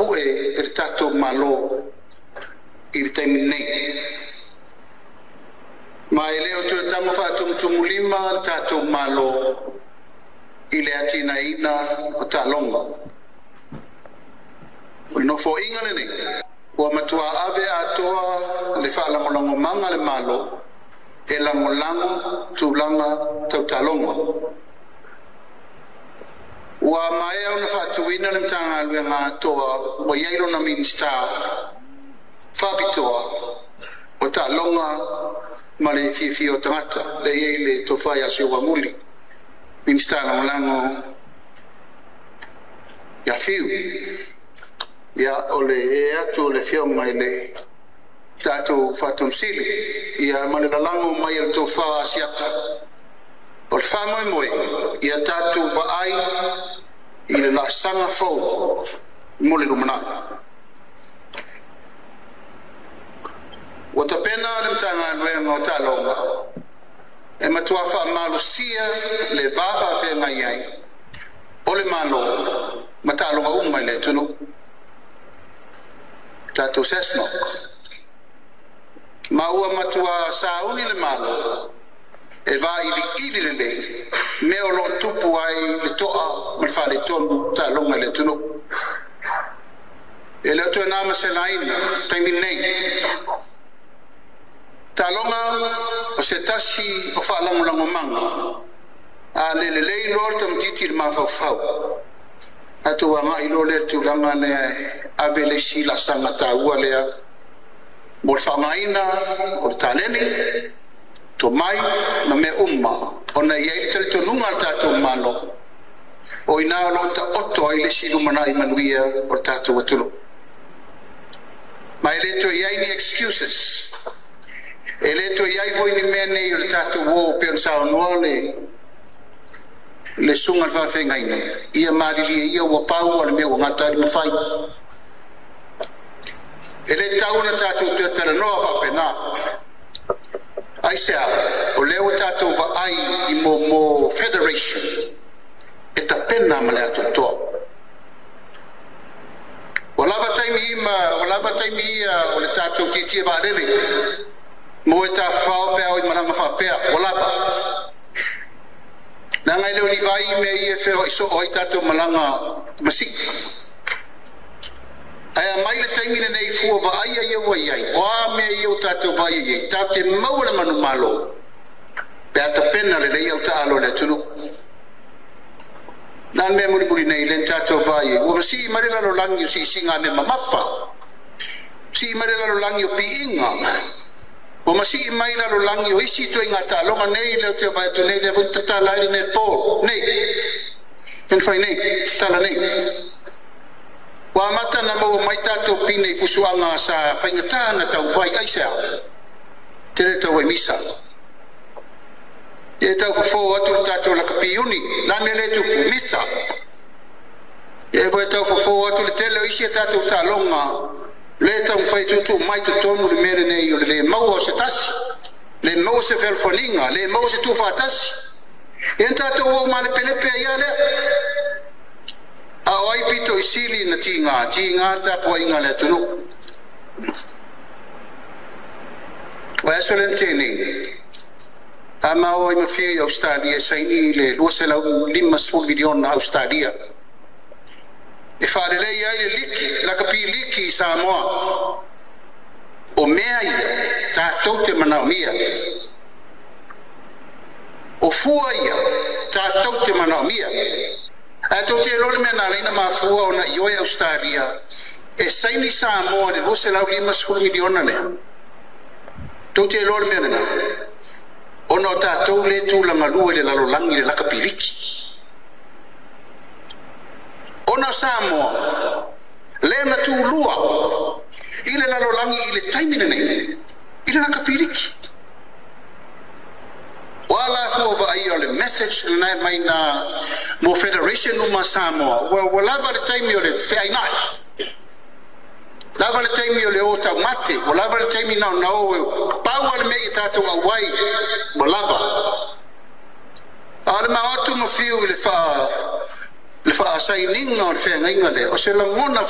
tapu'e e le tatou Malo i le taimi nei. Ma e le o toe tago faatumutumulima le tatou Malo i le atinaeina o taaloga. O le Nofoaiga lenei ua matua ave atoa le faalagolagomaga a le Malo e lagolago tulaga tau taaloga. Ua maea ona faatuina le Matagaluega atoa ua i ai lona Minisita faapitoa o Taaloga ma le Fiafia o Tagata, lea e i ai le Tofa ia Seuamuli, Minisita Lagolago ia Fiu. Ia, o le ee atu o le Afioga i le tatou Faatonusili, ia ma le lalago mai o le tofa a Asiata. O le faamoemoe, ia tatou vaai i le laasaga fou mo le lumanai. Ua tapena le Matagaluega o Taaloga e matua faamalosia le va faafeagai ai o le Malo ma taaloga uma i le atunuu. Tatou SASNOC. Ma ua matua sauni le Malo e vailiili lelei mea o lo o tupu ai le toa ma le faaletonu o taaloga i le atunuu. E le o toe na ma se laina taimi nei. Taaloga o se tasi o faalagolagomaga a le lelei loa le tamaitiiti i le mafaufau, tatou agai loa lea i le tulaga lea e ave le isi laasaga taua lea mo le faaaogaina o le taleni, tomai ma mea uma, ona e i ai le talitonuga a le tatou Malo, o i ina o lo o taoto ai le isi lumanai manuia o le tatou atunuu. Ma e le toe i ai ni excuses, e le toe i ai foi ni mea nei o le tatou o pei ona saunoa le susuga i le faafeagaiga, ia malilie ia ua pau o le mea ua gata ai le mafai. E le tatau ona tatou toe talanoa faapena. Aisea? O lea ua tatou vaai i mo federation e tapena ma le atoatoa. Ua lava taimi ima, ua lava taimi ia o le tatou tietie vaalele mo e tafafao pe a o i malaga faapea, ua lava. Leaga e le o ni vai mea ia e feoai soo ai tatou malaga masii. Ae a mai le taimi lenei fua vaaia ia ua i ai, o a mea ia ua tatou vaai i ai, tatou te maua le manumalo pe a tapena lelei au taalo a le atunuu. Na le mea mulimuli nei le tatou vaai ai, ua masii mai le lalolagi o siisiga mea mamafa, sii mai le lalolagi o piiga, ua masii mai lalolagi o isi ituaiga taaloga nei lea ou te vaai atu nei, lea foi na tatala ai le netball nei, lea na fai nei, tatala nei. Ua amata na maua mai tatou pine i fusuaga sa faigata na taumafai. Aisea? Tele tau ai misa. E tau fofo atu le tatou lakapi uni, la mea le tupu, misa. E foi tau fofo atu le tele o isi a tatou taaloga, le taumafai tuutuu mai totonu le mea lenei o le le maua o se tasi, le maua se fealofaniga, le maua se tuufaatasi. E na tatou o malepelepe ai ia lea. A o ai pito i sili na tiga, tiga le tapuaiga a le atunuu. O aso le na a ma o ai mafia i Australia e saini le 250 miliona Australia e faalelei ai le liki, lakapi liki i Samoa. O mea ia tatou te manaomia. O fua ia tatou te manaomia. Ae tou te iloa le mea na ala ai ona mafua ona ioe Ausetalia e saini Samoa i le 250 miliona lea? Tou te iloa le mea lena? Ona o tatou lea e tulagalua i le lalolagi i le lakapiliki. Ona o Samoa lea na tulua i le lalolagi i le taimi lenei i le lakapiliki. O a la fua vaaia o le message lena e mai na mo Federation uma a Samoa, ua lava le taimi o le feainai, lava le taimi o le o taumate, ua lava le taimi na ona o pau a le mea ia tatou auai, ua lava. A o le mao atu ma fiu i le faasainiga o le feagaiga lea, o se lagona.